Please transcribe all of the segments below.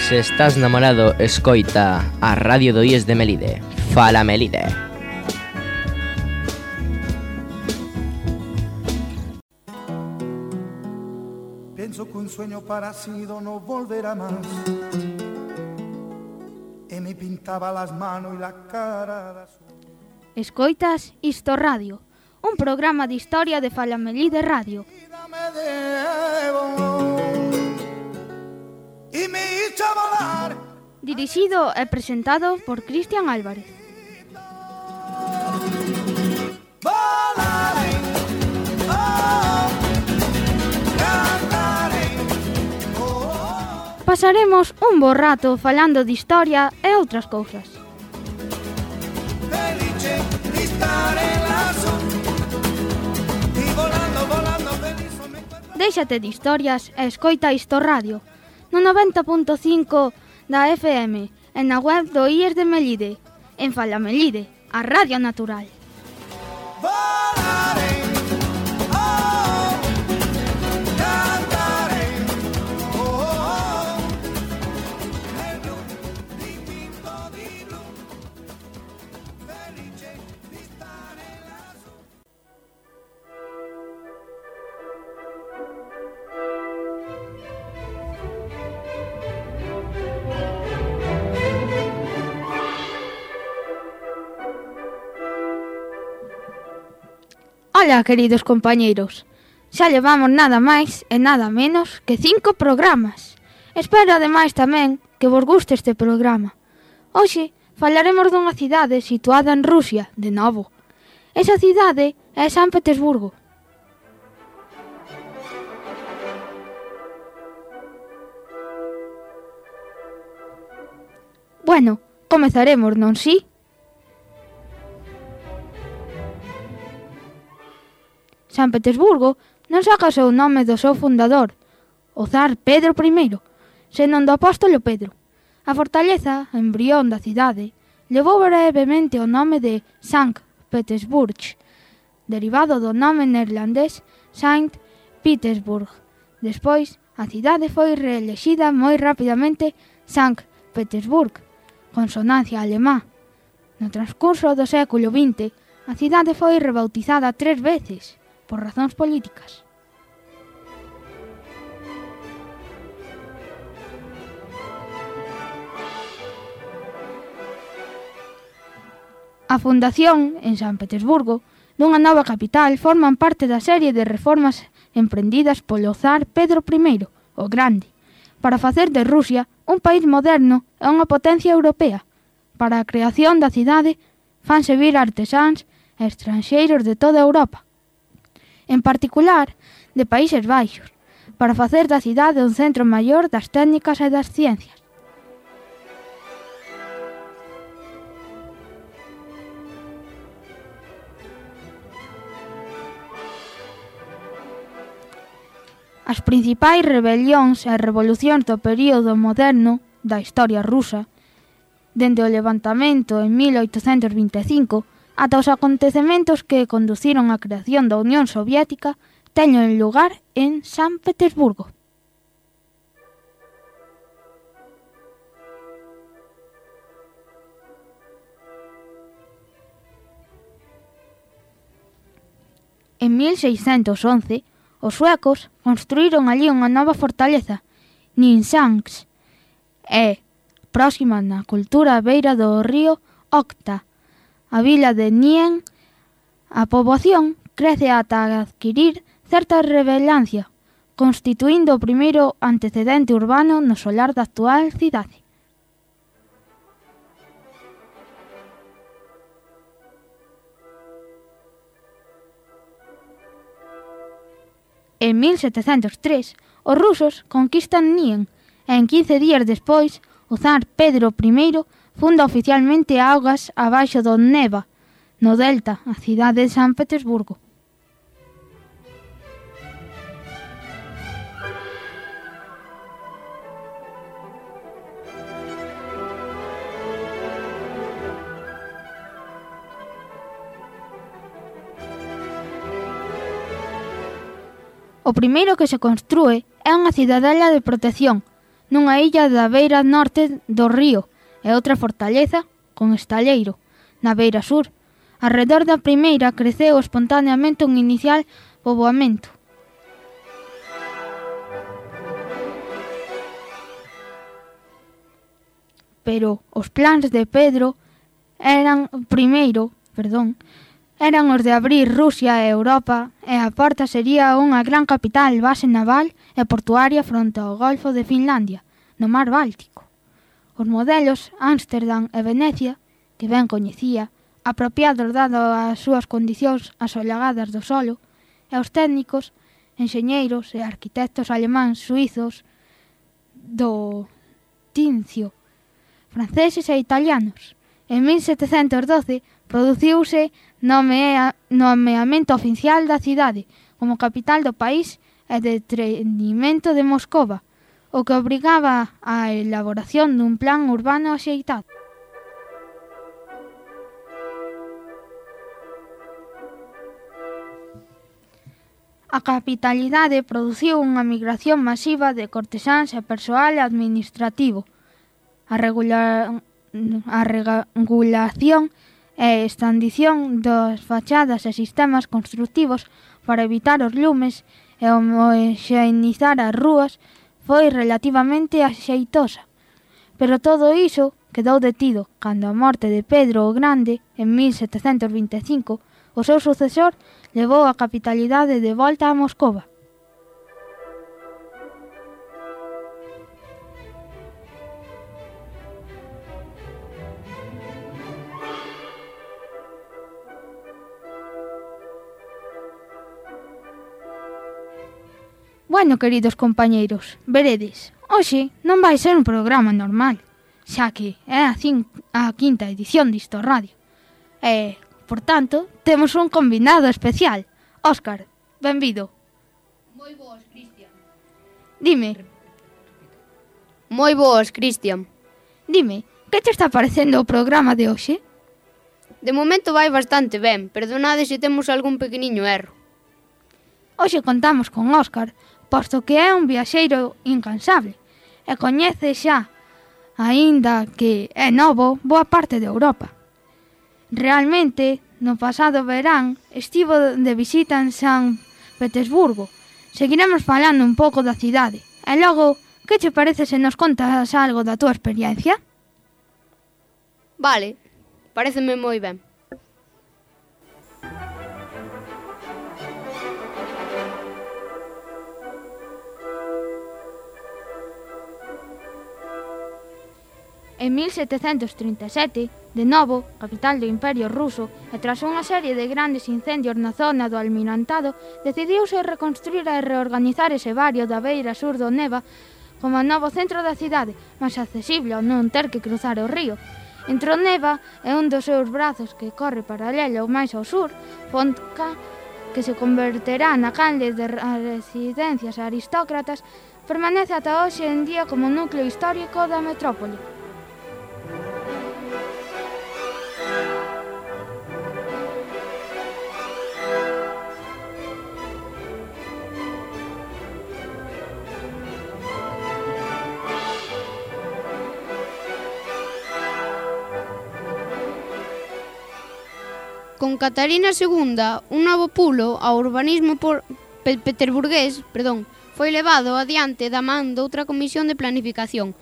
Se estás namorado, escoita a Radio do IES de Melide. Fala Melide. Pienso que un sueño parecido no volverá más. Y me pintaba las manos y la cara de azul. Escoitas Isto Radio, un programa de historia de Fala Melide Radio. Y me hizo volar. Dirixido e presentado por Cristian Álvarez. Volaré, cantaré, Pasaremos un bo rato falando de historia e outras cousas. felice di stare lassù. Y volando, volando, feliz me encuentro. Déixate de historias e escoita Isto Radio, no 90.5 da FM, e na web do IES de Melide, en Fala Melide, a Radio Natural. Volaré, cantaré, nel blu dipinto di blu, felice di stare lassù. Ola, queridos compañeiros, xa levamos nada máis e nada menos que 5 programas. Espero ademais tamén que vos guste este programa. Hoxe falaremos dunha cidade situada en Rusia, de novo. Esa cidade é San Petersburgo. Bueno, comezaremos, non si? San Petersburgo non saca o seu nome do seu fundador, o zar Pedro I, senón do apóstolo Pedro. A fortaleza, embrión da cidade, levou brevemente o nome de Sankt Petersburg, derivado do nome neerlandés Saint Petersburg. Despois, a cidade foi reelexida moi rapidamente Sankt Petersburg, consonancia alemá. No transcurso do século XX, a cidade foi rebautizada 3 veces, por razóns políticas. A fundación, en San Petersburgo, dunha nova capital forman parte da serie de reformas emprendidas polo zar Pedro I, o Grande, para facer de Rusia un país moderno e unha potencia europea. Para a creación da cidade fanse vir artesáns e estranxeiros de toda Europa, en particular de Países Baixos, para facer da cidade un centro maior das técnicas e das ciencias. As principais rebelións e revolucións do período moderno da historia rusa, dende o levantamento en 1825 ata os acontecementos que conduciron á creación da Unión Soviética, teñen lugar en San Petersburgo. En 1611, os suecos construíron allí unha nova fortaleza, Nynäshamn, e, próxima na cultura á beira do río Okhta, a vila de Nien, a poboación crece ata adquirir certa relevancia, constituindo o primeiro antecedente urbano no solar da actual cidade. En 1703, os rusos conquistan Nien e en 15 días despois, o zar Pedro I funda oficialmente augas abaixo do Neva, no delta, a cidade de San Petersburgo. O primeiro que se construe é unha cidadela de protección, nunha illa da beira norte do río e outra fortaleza con estalleiro na beira sur. Arredor da primeira creceu espontaneamente un inicial poboamento. Pero os plans de Pedro eran os de abrir Rusia e Europa, e a porta sería unha gran capital, base naval e portuaria fronte ao Golfo de Finlandia, no Mar Báltico. Os modelos Ámsterdam e Venecia, que ben coñecía, apropiados dado as súas condicións asollagadas do solo, e os técnicos, enxeñeiros e arquitectos alemáns suizos do Tincio, franceses e italianos. En 1712 produciuse nomeamento oficial da cidade como capital do país e detrimento de Moscova, o que obrigaba á elaboración dun plan urbano axeitado. A capitalidade produciu unha migración masiva de cortesáns e persoal administrativo. A regulación e expandición das fachadas e sistemas construtivos para evitar os lumes e homoxeneizar as rúas foi relativamente axeitosa. Pero todo iso quedou detido cando a morte de Pedro o Grande en 1725 o seu sucesor levou a capitalidade de volta a Moscova. Bueno, queridos compañeiros, veredes, hoxe non vai ser un programa normal, xa que é a quinta edición disto radio. E, por tanto, temos un convidado especial. Óscar, benvido. Moi boas, Cristian. Dime, Moi boas, Cristian. que te está parecendo o programa de hoxe? De momento vai bastante ben, perdonade se temos algún pequeniño erro. Hoxe contamos con Óscar, posto que é un viaxeiro incansable e coñece xa, aínda que é novo, boa parte de Europa. Realmente, no pasado verán, estivo de visita en San Petersburgo. Seguiremos falando un pouco da cidade. E logo, que che parece se nos contas algo da túa experiencia? Vale, pareceme moi ben. En 1737, de novo, capital do Imperio Ruso, e tras unha serie de grandes incendios na zona do Almirantado, decidiuse reconstruir e reorganizar ese barrio da beira sur do Neva como novo centro da cidade, máis accesible ao non ter que cruzar o río. Entre o Neva e un dos seus brazos que corre paralelo máis ao sur, Fontka, que se converterá na canle de residencias aristócratas, permanece ata hoxe en día como núcleo histórico da metrópole. Con Catarina II, un novo pulo ao urbanismo peterburgués foi levado adiante da man doutra comisión de planificación.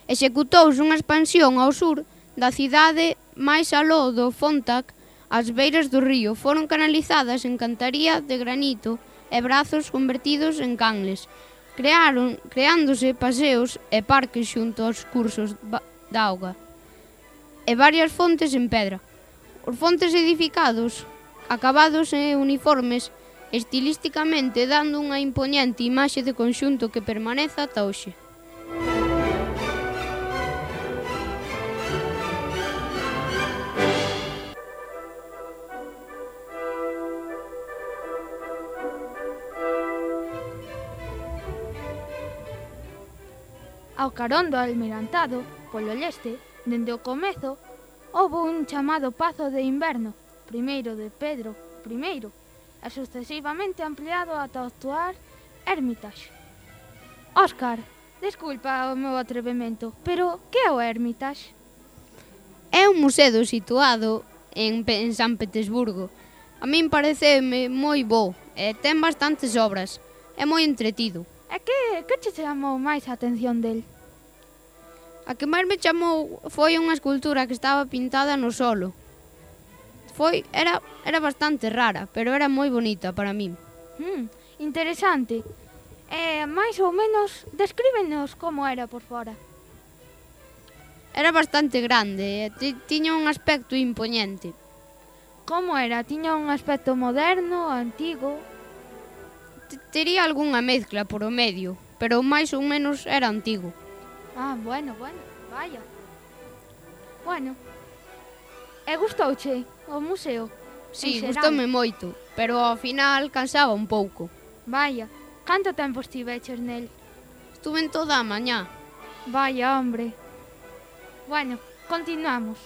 Executouse unha expansión ao sur da cidade máis aló do Fontak, as beiras do río foron canalizadas en cantaría de granito e brazos convertidos en canles, creándose paseos e parques xunto aos cursos de auga, e varias fontes en pedra. Os fontes edificados, acabados e uniformes, estilisticamente dando unha impoñente imaxe de conxunto que permanece ata hoxe. Ao carón do Almirantado, polo leste, dende o comezo, houbo un chamado Pazo de Inverno, primeiro de Pedro I, e sucesivamente ampliado ata o actual Hermitage. Óscar, Desculpa o meu atrevemento, pero que é o Hermitage? É un museo situado en San Petersburgo. A min pareceme moi bo e ten bastantes obras. É moi entretido. E que te chamou máis a atención del? A que máis me chamou foi unha escultura que estaba pintada no solo. Era bastante rara, pero era moi bonita para min. Interesante. Mais ou menos, descríbenos como era por fora. Era bastante grande e tiña un aspecto impoñente. Como era? Tiña un aspecto moderno, antigo? Tería algunha mezcla por o medio, pero máis ou menos era antigo. Bueno, vaya. Bueno, e gustouche o museo? Sí, En xeral? gustoume moito, pero ao final cansaba un pouco. Vaya, canto tempo estiveches nel? Estuve en toda a mañá. Vaya, hombre. Bueno, continuamos.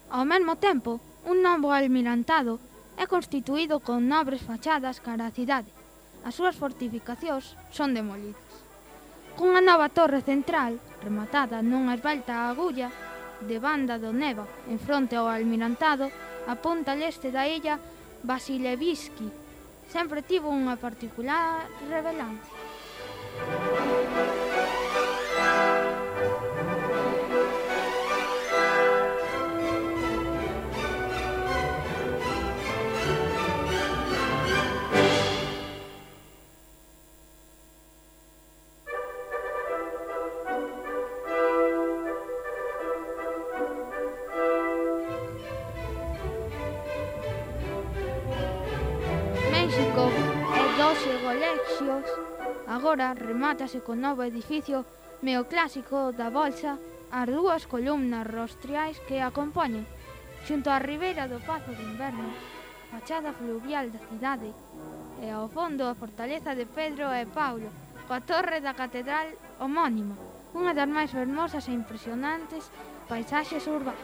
Ao mesmo tempo, un novo almirantado é constituído con nobres fachadas cara á cidade. As súas fortificacións son demolidas. Cunha nova torre central, rematada nunha esbelta agulla, de banda do Neva, en fronte ao almirantado, a punta leste da illa Vasilevsky, sempre tivo unha particular relevancia. México e 12 colexios, agora remátase con novo edificio neoclásico da Bolsa, as dúas columnas rostriais que acompañan, xunto á ribeira do Pazo de Inverno, fachada fluvial da cidade, e ao fondo a fortaleza de Pedro e Paulo, coa torre da catedral homónima, unha das máis fermosas e impresionantes paisaxes urbanas.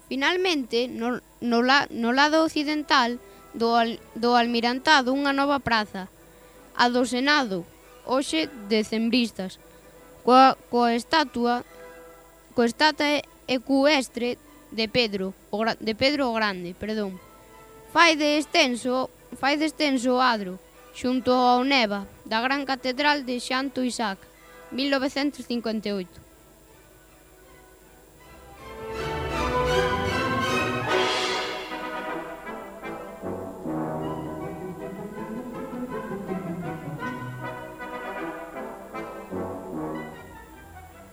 Finalmente, no lado occidental do almirantado unha nova praza, a do Senado, hoxe decembristas, coa estatua ecuestre de Pedro o Grande, Fai de extenso o adro, xunto ao Neva, da Gran Catedral de Santo Isaac, 1958.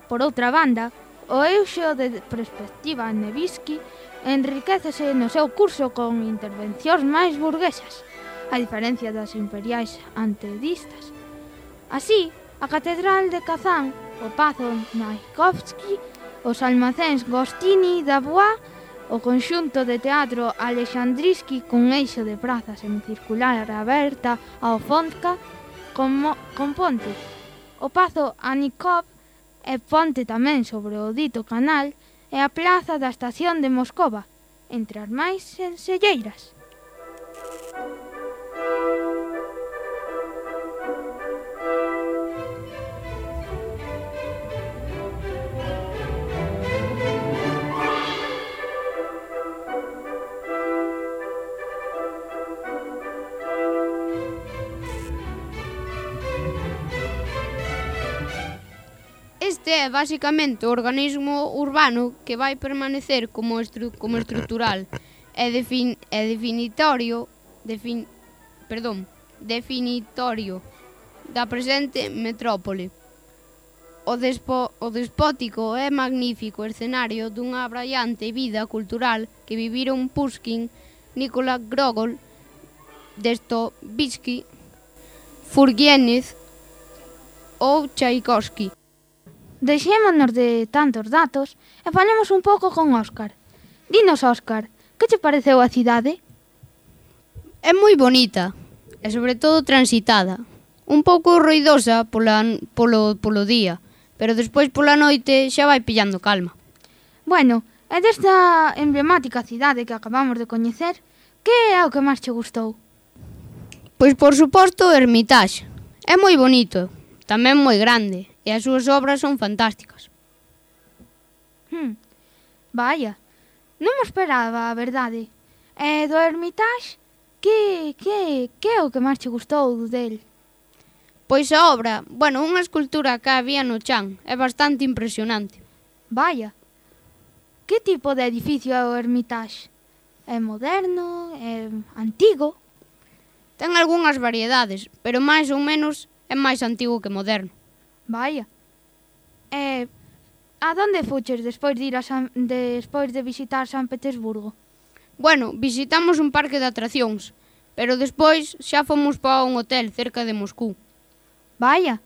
Por outra banda, o eixo de perspectiva Nevsky enriquecese no seu curso con intervencións máis burguesas, a diferencia das imperiais antedistas. Así, a Catedral de Kazán, o Pazo Tchaikovsky, os almacéns Gostini da Bois, o conxunto de teatro Alexandrinsky cun eixo de praza semicircular aberta ao Fontka con ponte, o Pazo Anikov e ponte tamén sobre o dito canal e a plaza da estación de Moscova, entre as máis senselleiras. Este é basicamente o organismo urbano que vai permanecer como estrutural e definitorio da presente metrópole. O despótico e magnífico escenario dunha abraiante vida cultural que viviron Pushkin, Nikola Gogol, Dostoevsky, Turgenev ou Tchaikovsky. Deixémonos de tantos datos e falemos un pouco con Óscar. Dinos, Óscar, que che pareceu a cidade? É moi bonita e sobre todo transitada. Un pouco ruidosa polo día, pero despois pola noite xa vai pillando calma. Bueno, e desta emblemática cidade que acabamos de coñecer, que é o que máis che gustou? Pois por suposto o Hermitage. É moi bonito, tamén moi grande, e as súas obras son fantásticas. Vaya, non me esperaba, a verdade. E do Hermitage, que é o que máis che gustou del? Pois a obra, unha escultura que había no chan, é bastante impresionante. Vaya, que tipo de edificio é o Hermitage? É moderno? É antigo? Ten algunhas variedades, pero máis ou menos é máis antigo que moderno. Vaya. E a donde fuches despois de despois de visitar San Petersburgo? Visitamos un parque de atraccións, pero despois xa fomos para un hotel cerca de Moscú. Vaya.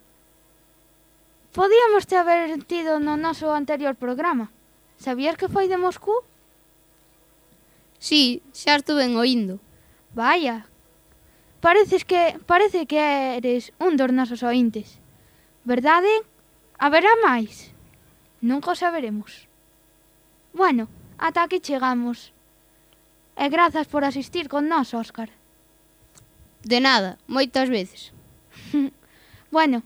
Podíamos te haber tido no noso anterior programa. Sabías que foi de Moscú? Sí, xa estuve oíndo. Vaya. Parece que eres un dos nosos ointes. Verdade? Haberá máis? Nunca o saberemos. Bueno, ata aquí chegamos. E grazas por asistir con nós, Óscar. De nada, moitas veces. Bueno,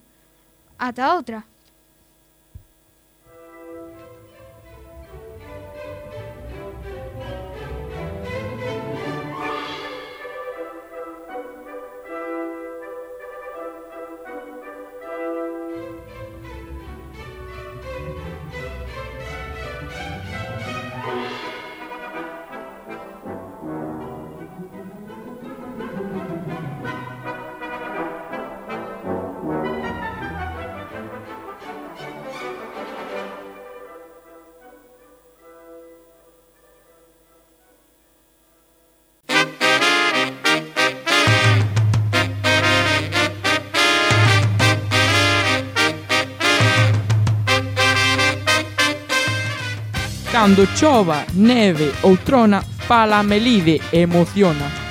ata outra. Cando chova, neve ou trona, fala a Melide e emociona.